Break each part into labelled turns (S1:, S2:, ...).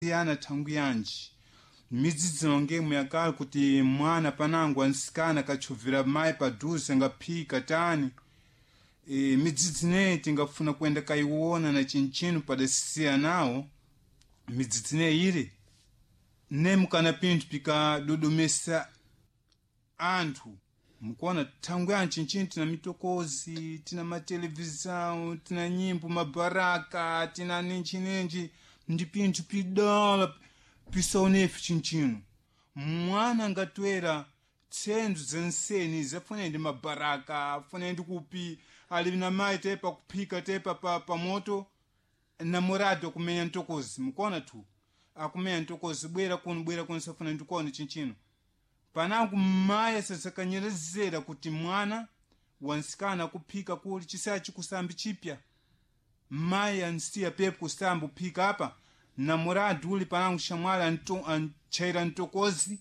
S1: Siyana thangu yanji midzidzi nongemwe yakale kuti mwana panango ansikana akachovera mayi padhuze angaphika tani. Midzidzi ineyi tingafuna kuyenda kayiwona na chinchino padasiyanawo midzidzi ineyi ili nemukana pinthu pikadodomesa anthu mukuona thangu yanji chinchino tina mitokozi, tina matelevisão, tina nyimbo mabaraka, tina ninchinenji, ndi pinthu pidala pisaonefe chinchino. Mwana angatwera tsenzo zenseni zafuna ndi mabaraka, afuna ndi kupi ali na mayi tepa kuphika tepa pa moto, namorado akumenya ntokozi, mukuona tu akumenya ntokozi, bwera kuno, bwera kuno, safuna ndikuona chinchino. Panangu mayi asasakanyerezera kuti mwana wansikana akuphika kuli chisaya chikusambi chipya, mayi ansiya pepo kusamba uphika apa, namorado uli panangu shamwali antchaira ntokozi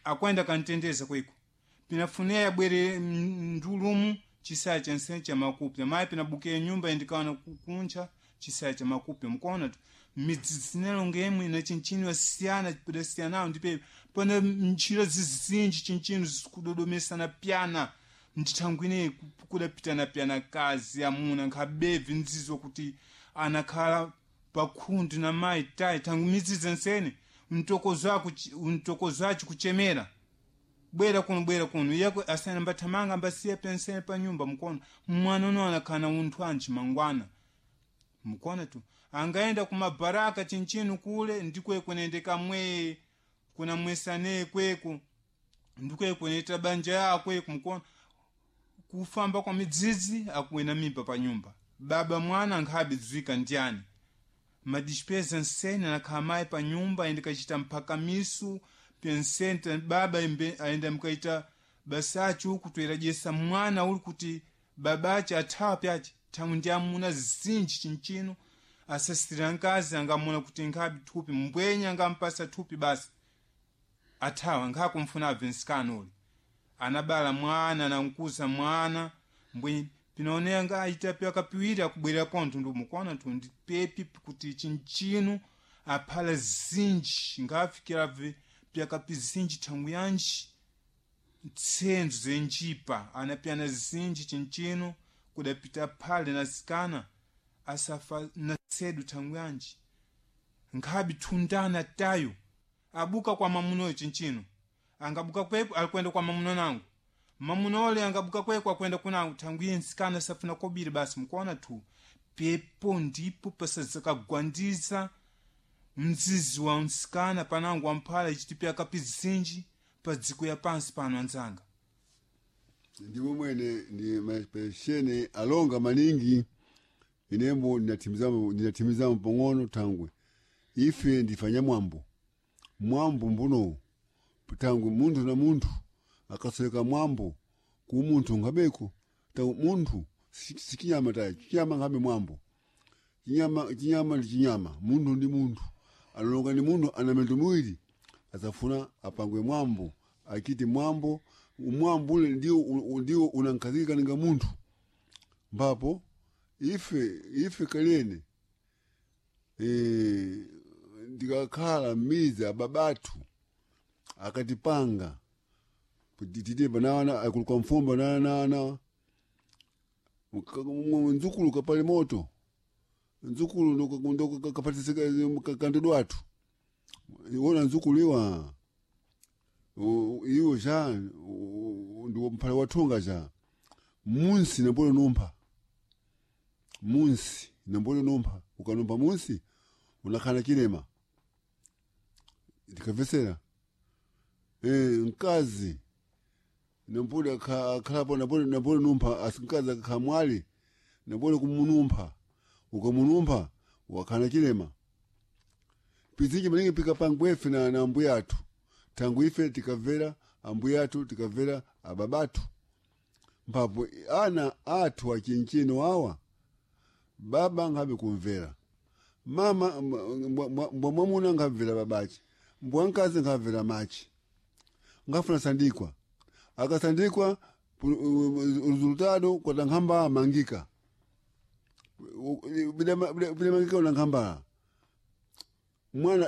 S1: akwenda kantendeza kweko, pinafuneya abwere ndulumu chisaya chansene cha makupya, mayi pinabukiya nyumba indikaona kuncha chisaya cha makupya. Mukuona tu midzidzi inalonga na chinchino yasiyana padasiyanawo ndipe pana ntchito zizinji chinchino zikudodomesana pyana ndithangu ineyi kudapitana pyana kazi amuna nkhabevi nzizo kuti anakhala pakhundu na mayi tayi thangu midzidzi ensene mtokozo aci kuchemera bwera kuno, bwera kuno, iyako asene ambathamanga ambasiya pensene pa nyumba. Mukuona mwana uno anakhala na unthu anji mangwana, mukuona tu angaenda kumabaraka chinchino kule ndikweko nende kamwe kuna mwesane kweko ndikweko neta banja yakweko. Mukuona kufamba kwa midzidzi akuwena mimba pa nyumba, baba mwana ankhabe dzwika ndiyani madispeza nsene anakhala mayi pa nyumba ayenda kachita mphakamisu pensenta baba ayenda mkaita basachi uku toyeradyesa mwana uli kuti babache athawa pyache thamu ndi amuna zinji chinchino asasitira nkazi angamuna kuti nkhabe thupi mbwenya angampasa thupi basi athawa nkhakumfuna abve nsikana uli anabala mwana anamkuza mwana mbwenye pinaonera nga aita pyakapiwiri akubwerera pontho ndi mukuona tu ndi pepi kuti chinchino aphala zinji ngafikira pyakapi zinji thangu yanji ntsenzo zenjipa anapyana zinji chinchino kudapita phale nasikana asafa nasedu thangu yanji nkhabi thundana tayo abuka kwa mamunoyo chinchino angabuka kwepo alikwenda kwa mamuno nangu mamuno ole angabuka kweko akwenda kunangu thangu iye nsikana safuna kobiri basi. Mukuona tu pepo ndipo pasazakagwandiza mzizi wa nsikana panangu wamphala ichiti pyakapi zinji pa dziko ya pansi pano anzanga.
S2: Ndimo mwene ndi mapeshene alonga maningi inembo ndinatimizamo pang'ono thangwe ife ndifanya mwambo mwambo mbuno tangwe munthu na munthu akasoweka mwambo ku munthu nkhabeko tangu munthu sichinyama tayi chinyama nkhabe mwambo chinyama chinyama ndi chinyama munthu ndi munthu analonga ndi munthu ana mendo miwiri asafuna apangwe mwambo akiti mwambo mwambo ule ndio unankhazikika ninga munthu mbapo ife kalene ndikakhala m'midzi ababatu akatipanga tite banana akuluka mfumba banana nzukulu kapale moto nzukulu ndo kapatisika kandidwatu iwona nzukulu iwa iwo ja ndiwo mphale wathunga ja munsi nambole numpha munsi nambole numpha ukanumpha munsi unakhala chilema ndikavesera mkazi nambole akhalapo nambole numpha mkazi akakhala mwali nambole kumunumpha ukamunumpha wakhala chilema pizinji maningi pikapangwa ife na ambuya athu thangu ife tikamvera ambuya athu tikamvera ababathu mphapo ana athu achinchino awa baba nkhabe kumvera mama mbwa mwamuna nkhamvera babache mbwa mkazi nkhamvera machi nkafuna sandikwa akasandikwa resultado kwata nkhamba amangika bidamangika una nkhambala mwana.